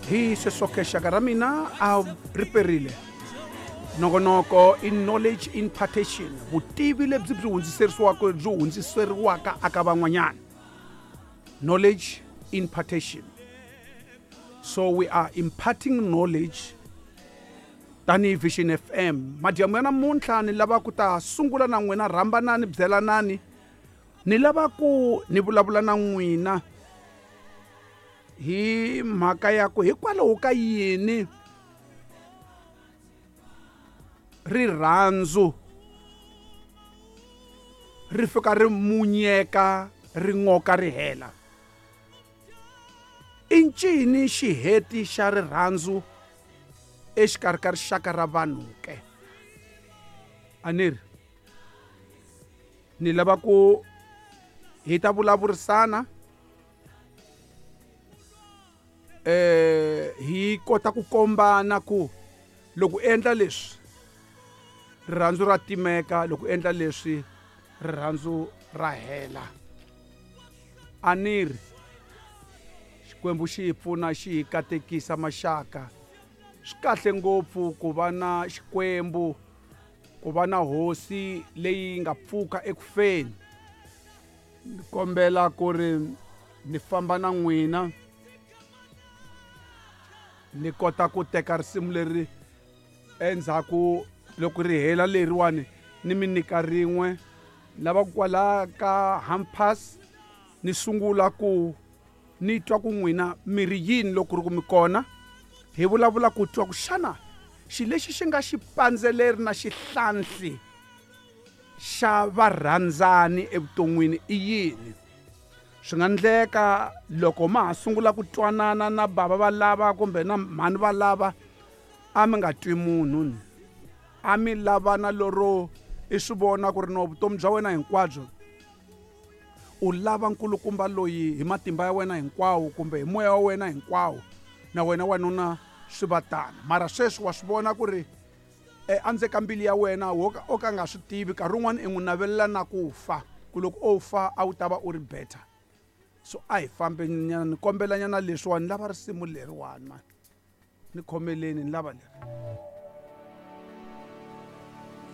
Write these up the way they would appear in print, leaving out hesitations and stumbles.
Hi sweswo-ke xaka ra mina a ri perile. Nongonoko i knowledge impartation, vutivi lebyi byi hundziserisiwaka byi hundziseriwaka aka van'wanyana. Knowledge impartation. So we are imparting knowledge tanihi Vision FM. Madyambu ya namuntlha ni lava ku ta sungula na n'wina, rhambanani, byelanani. Ni lava ku ni vulavula na n'wina hi mhaka ya ku hikwalaho ka yini rirhandzu ri fika ri munyeka ri n'oka ri hela. I ncini xiheti xa rirhandzu exikarhi ka rixaka ra vanhu ke? A ni ri ni lava ku hi ta vulavurisana hi kota ku kombana ku loko u endla leswi rirhandzu ra timeka, loko u endla leswi rirhandzu ra hela. A ni ri Xikwembu xi hi pfuna xi hi katekisa maxaka. Swi kahle ngopfu ku va na Xikwembu, ku va na hosi leyi nga pfuka eku feni. Ni kombela ku ri ni famba na n'wina ni kota ku teka risimu leri endzhaku loko ri hela leriwani ni mi nyika rin'we. Lava kwala ka Hampas ni sungula ku ni twa ku n'wina mi ri yini loko ri ku mi kona. Hi vulavula ku twa ku xana xi lexi xi nga xipandzeleri na xihlanhli xa varhandzani evuton'wini i yini. Swi nga endleka loko ma ha sungula ku twanana na bava va lava kumbe na mhani va lava, a mi nga twi munhu ni. A mi lavana lero i swi vona ku ri no vutomi bya wena hinkwabyo u lava nkulukumba loyi hi matimba ya wena hinkwawo kumbe hi moya wa wena hinkwawo, na wena wanuna swi va tano. Mara sweswi wa swi vona ku ri endzeni ka mbilu ya wena o ka nga swi tivi, nkarhi wun'wani i n'wi navelela na ku fa, ku loko o fa a wu ta va u ri better. So a hi fambe nyana, ni kombela nyana leswiwani, ni lava risimu leriwani mani, ni khomeleni, ni lava leri.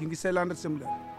Yingiselani risimu leri.